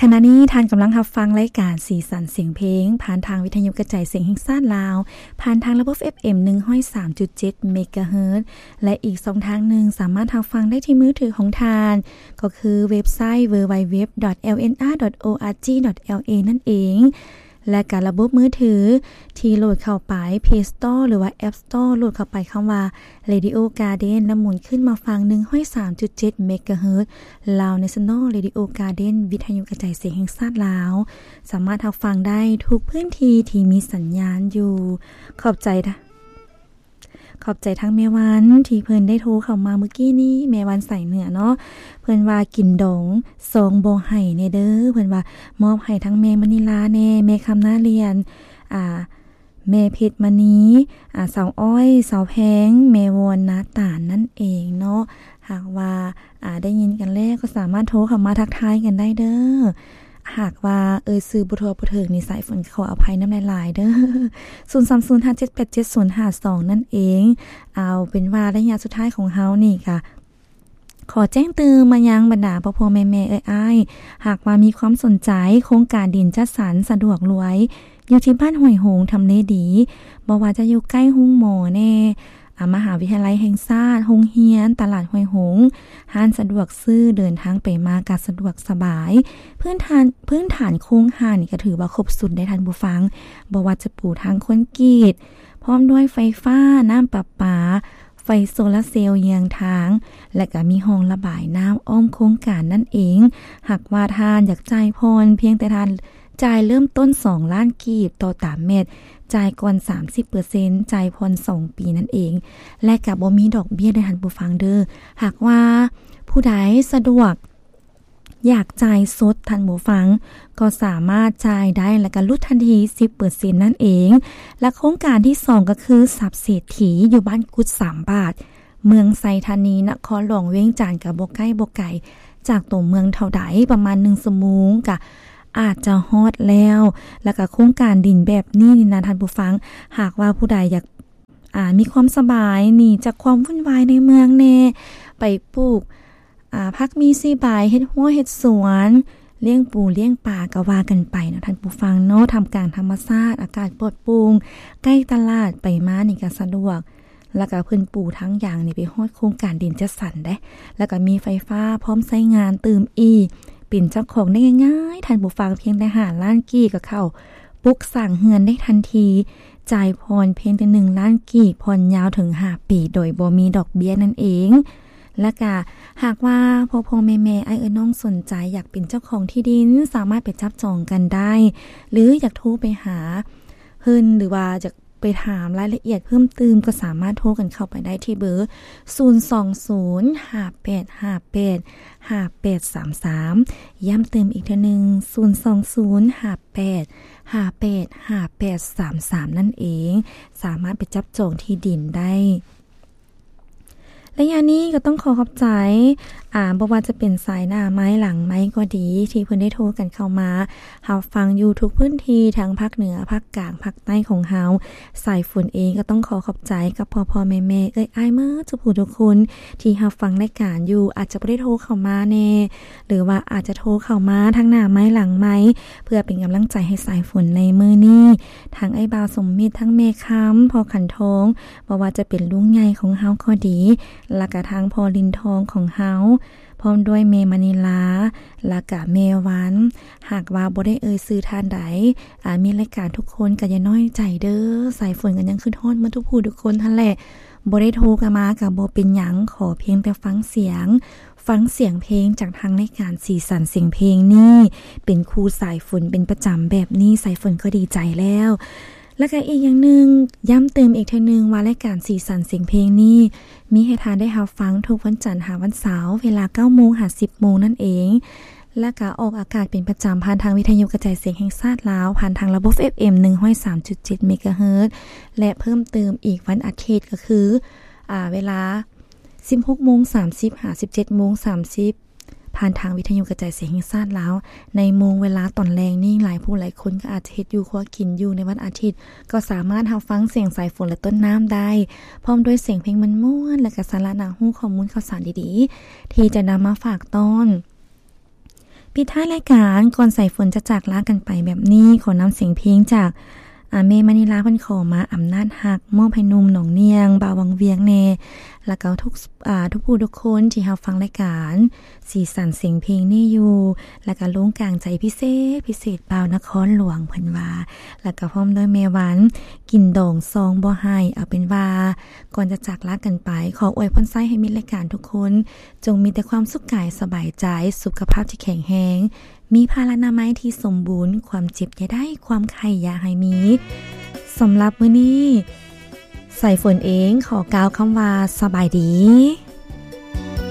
ຂະນະນີ້ທ່ານກຳລັງຮັບຟັງລາຍການສີສັນສຽງເພງ ຜ່ານທາງວິທະຍຸກະຈາຍສຽງແຫ່ງຊາດລາວ ຜ່ານທາງລະບົບເອັຟເອັມ ໜຶ່ງຮ້ອຍສາມຈຸດເຈັດ ເມກາເຮີດ ແລະ ອີກຊ່ອງທາງໜຶ່ງສາມາດຮັບຟັງໄດ້ທີ່ມືຖືຂອງທ່ານ ກໍຄືເວັບໄຊ ดัບເບິນຢູ ດັບເບິນຢູ ດັບເບິນຢູ ດອດ ແອລເອັນ ອາ ດອດ ໂອ ອາ ຈີ ດອດ ແອລ ເອ ນັ້ນເອງ ແລະ ກະລະບົບມືຖືທີ່ໂຫຼດເຂົ້າໄປ Play Store ຫຼືວ່າ App Store ໂຫຼດເຂົ້າໄປຄຳວ່າ Radio Garden ແລ້ວໝູນຂຶ້ນມາຟັງ ໜຶ່ງຮ້ອຍສາມຈຸດເຈັດ ເມກາເຮີດ Lao National Radio Garden ວິທະຍຸກະຈາຍສຽງແຫ່ງຊາດລາວ ສາມາດຮັບຟັງໄດ້ທຸກພື້ນທີ່ທີ່ມີສັນຍານຢູ່. ຂອບໃຈ ຂອບໃຈທັງແມ່ວັນທີ່ເພິ່ນໄດ້ໂທເຂົ້າມາມື້ກີ້ນີ້ ແມ່ວັນສາຍເໜືອເນາະ ເພິ່ນວ່າ ກິນດອງຊອງບໍ່ໃຫ້ແດ່ເດີ ເພິ່ນວ່າມອບໃຫ້ທັງແມ່ມະນິລາແດ່ ແມ່ຄຳນາລຽນ ອ່າ ແມ່ເພັດມະນີ ອາ ສາວອ້ອຍ ສາວແພງ ແມ່ວອນ ນາຕານ ນັ້ນເອງເນາະ. ຫາກວ່າ ອາ ໄດ້ຍິນກັນແລ້ວກໍສາມາດໂທເຂົ້າມາທັກທາຍກັນໄດ້ເດີ. ຫາກວ່າເອີ່ຍຊື່ບໍ່ທົ່ວບໍ່ເຖິງນີ້ ສາຍຝົນຂໍອະໄພນຳຫຼາຍໆເດີ ສູນສາມສູນຫ້າເຈັດແປດເຈັດສູນຫ້າສອງນັ້ນເອງ. ເອົາເປັນວ່າໄລຍະສຸດທ້າຍຂອງເຮົານີ້ກະ ຂໍແຈ້ງຕື່ມມາຍັງບັນດາພໍ່ໆແມ່ໆເອື້ອຍອ້າຍ ຫາກວ່າມີຄວາມສົນໃຈໂຄງການດິນຈັດສັນສະດວກລວຍ ຢູ່ທີ່ບ້ານຫ້ວຍຫົງ ທຳເລດີ ບໍ່ວ່າຈະຢູ່ໃກ້ໂຮງໝໍແດ່ ອາ ມະຫາວິທະຍາໄລແຫ່ງຊາດ, ໂຮງຮຽນ, ຕະຫຼາດຫ້ວຍຫົງ, ຮ້ານສະດວກຊື້, ເດີນທາງໄປມາກະສະດວກສະບາຍ. ພື້ນຖານ ພື້ນຖານໂຄງຮ່າງນີ້ກະຖືວ່າຄົບຊຸດໄດ໋ທ່ານຜູ້ຟັງ, ບໍ່ວ່າຈະປູທາງຄອນກຣີດ ພ້ອມດ້ວຍໄຟຟ້າ, ນ້ຳປະປາ, ໄຟໂຊລາເຊວເຍືອງທາງ ແລະກະມີຮ່ອງລະບາຍນ້ຳອ້ອມໂຄງການນັ້ນເອງ. ຫາກວ່າທ່ານຢາກຈ່າຍຜ່ອນ ພຽງແຕ່ທ່ານຈ່າຍເລີ່ມຕົ້ນສອງລ້ານກີບຕໍ່ຕາແມັດ, ຈ່າຍກ່ອນສາມສິບເປີເຊັນ, ຈ່າຍຜ່ອນສອງປີນັ້ນເອງ ແລະກະບໍ່ມີດອກເບ້ຍເດີທ່ານຜູ້ຟັງເດີ. ຫາກວ່າຜູ້ໃດສະດວກ ຢາກຈ່າຍສົດທ່ານຜູ້ຟັງ ກໍສາມາດຈ່າຍໄດ້ ແລະກະຫຼຸດທັນທີສິບເປີເຊັນນັ້ນເອງ. ແລະໂຄງການທີສອງກໍຄືຊັບເສດຖີ ຢູ່ບ້ານກຸດສາມບາດ ເມືອງໄຊທານີ ນະຄອນຫຼວງວຽງຈັນ ກະບໍ່ໃກ້ບໍ່ໄກຈາກຕົວເມືອງເທົ່າໃດ ປະມານໜຶ່ງຊົ່ວໂມງກະອາດຈະຮອດແລ້ວ. ແລະກະໂຄງການດິນແບບນີ້ນີ້ນະທ່ານຜູ້ຟັງ ຫາກວ່າຜູ້ໃດຢາກ ອາ ມີຄວາມສະບາຍ ໜີຈາກຄວາມວຸ່ນວາຍໃນເມືອງແດ່ ໄປປູກ ອາ ຜັກມີຊີໃບ ເຮັດຮົ້ວເຮັດສວນ ລ້ຽງປູລ້ຽງປາກະວ່າກັນໄປເນາະທ່ານຜູ້ຟັງເນາະ. ທ່າມກາງທຳມະຊາດ ອາກາດປອດໂປ່ງ ໃກ້ຕະຫຼາດ ໄປມານີ້ກະສະດວກ ແລະກະເພິ່ນປູທາງຢາງນີ້ໄປຮອດໂຄງການດິນຈັດສັນເດ້ ແລະກະມີໄຟຟ້າພ້ອມໃຊ້ງານຕື່ມອີກ. ເປັນເຈົ້າຂອງໄດ້ງ່າຍໆທ່ານຜູ້ຟັງ ພຽງແຕ່ຫ້າລ້ານກີບກະເຂົ້າປຸກສ້າງເຮືອນໄດ້ທັນທີ ຈ່າຍຜ່ອນພຽງແຕ່ໜຶ່ງລ້ານກີບ ຜ່ອນຍາວເຖິງຫ້າປີ ໂດຍບໍ່ມີດອກເບ້ຍນັ້ນເອງ. ແລະກະຫາກວ່າພໍ່ໆແມ່ໆ ອ້າຍເອື້ອຍນ້ອງສົນໃຈຢາກເປັນເຈົ້າຂອງທີ່ດິນ ສາມາດໄປຈັບຈອງກັນໄດ້ ຫຼືຢາກໂທໄປຫາເພິ່ນ ຫຼືວ່າຢາກໄປຖາມລາຍລະອຽດເພີ່ມຕື່ມ ກໍສາມາດໂທກັນເຂົ້າໄປໄດ້ທີ່ເບີ ສູນສອງສູນ ຫ້າແປດຫ້າແປດ ຫ້າແປດສາມສາມ ຢ້ຳເຕີມອີກເທື່ອໜຶ່ງ ສູນສອງສູນ ຫ້າແປດ ຫ້າແປດ ຫ້າແປດສາມສາມ ນັ້ນເອງ. ສາມາດໄປຈັບຈອງທີ່ດິນໄດ້. ໄລຍະນີ້ກໍຕ້ອງຂໍຂອບໃຈ ອາ ບໍ່ວ່າຈະເປັນສາຍໜ້າໄມ ຫຼັງໄມກໍດີ ທີ່ເພິ່ນໄດ້ໂທກັນເຂົ້າມາຮັບຟັງຢູ່ທຸກພື້ນທີ່ ທັງພາກເໜືອ, ພາກກາງ, ພາກໃຕ້ຂອງເຮົາ. ສາຍຝົນເອງກໍຕ້ອງຂໍຂອບໃຈກັບພໍ່ໆແມ່ໆ ເອື້ອຍອ້າຍໝົດທຸກຜູ້ທຸກຄົນ ທີ່ຮັບຟັງລາຍການຢູ່ ອາດຈະບໍ່ໄດ້ໂທເຂົ້າມາແດ່ ຫຼືວ່າອາດຈະໂທເຂົ້າມາທັງໜ້າໄມຫຼັງໄມ ເພື່ອເປັນກຳລັງໃຈໃຫ້ສາຍຝົນໃນມື້ນີ້. ທັງອ້າຍບ່າວສົມມິດ, ທັງແມ່ຄຳ, ພໍ່ຂັນທອງ, ບໍ່ວ່າຈະເປັນລຸງໃຫຍ່ຂອງເຮົາກໍດີ ແລະກະທັງພໍ່ລິນທອງຂອງເຮົາ ພ້ອມດ້ວຍແມ່ມະນີລາ ແລະກະແມ່ວັນ. ຫາກວ່າບໍ່ໄດ້ເອີ່ຍຊື່ທ່ານໃດ ອາ ມີລາຍການທຸກຄົນກໍຢ່ານ້ອຍໃຈເດີ. ສາຍຝົນກໍຍັງຄຶດຮອດໝົດທຸກຜູ້ທຸກຄົນຫັ້ນແຫຼະ. ບໍ່ໄດ້ໂທກັນມາກໍບໍ່ເປັນຫຍັງ, ຂໍພຽງແຕ່ຟັງສຽງ, ຟັງສຽງເພງຈາກທາງລາຍການສີສັນສຽງເພງນີ້ ເປັນຄູ່ສາຍຝົນເປັນປະຈຳແບບນີ້ ສາຍຝົນກໍດີໃຈແລ້ວ. ແລະກະອີກຢ່າງໜຶ່ງ ຢ້ຳເຕີມອີກເທື່ອໜຶ່ງວ່າ ລາຍການສີສັນສຽງເພງນີ້ ມີໃຫ້ທ່ານໄດ້ຮັບຟັງທຸກວັນຈັນຫາວັນເສົາ ເວລາເກົ້າໂມງຫາສິບໂມງນັ້ນເອງ. ແລະກະອອກອາກາດເປັນປະຈຳຜ່ານທາງວິທະຍຸກະຈາຍສຽງແຫ່ງຊາດລາວ ຜ່ານທາງລະບົບເອັຟເອັມ ໜຶ່ງຮ້ອຍສາມຈຸດເຈັດ ເມກາເຮີດ ແລະເພີ່ມເຕີມອີກວັນອາທິດ ກໍຄື ອາ ເວລາສິບຫົກໂມງສາມສິບ ຫາສິບເຈັດໂມງສາມສິບ ຜ່ານທາງວິທະຍຸກະຈາຍສຽງແຫ່ງຊາດລາວ. ໃນໂມງເວລາຕອນແລງນີ້ ຫຼາຍຜູ້ຫຼາຍຄົນກໍອາດຈະເຮັດຢູ່ຄົວກິນຢູ່ໃນວັນອາທິດ ກໍສາມາດຮັບຟັງສຽງສາຍຝົນ ແລະ ຕົ້ນນ້ຳໄດ້ ພ້ອມດ້ວຍສຽງເພງມ່ວນໆ ແລະກະສາລະໜ້າຮູ້ ຂໍ້ມູນຂ່າວສານດີໆ ທີ່ຈະນຳມາຝາກຕ້ອນ ปิดท้ายรายการก่อนสายฝนจะจากลากันไปแบบนี้ ขอนำเสียงเพลงจาก อา แม่มณีลาเพิ่นขอมา อำนาจฮัก มอบให้หนุ่มหนองเนียง บ่าววังเวียงแน่ แล้วก็ทุก อ่า ทุกผู้ทุกคนที่รับฟังรายการสีสันเสียงเพลงนี้อยู่ แล้วก็ลงกลางใจพิเศษ พิเศษบ่าวนครหลวงเพิ่นว่า แล้วก็พร้อมด้วยแม่วัน กินดองซองบ่ให้ เอาเป็นว่า ก่อนจะจากลากันไป ขออวยพรไส้ให้มิตรรายการทุกคน จงมีแต่ความสุขกายสบายใจ สุขภาพที่แข็งแรง มีพลานามัยที่สมบูรณ์ ความเจ็บอย่าได้ ความไข้อย่าให้มี สำหรับมื้อนี้ สายฝนเองขอกล่าวคำว่าสบายดี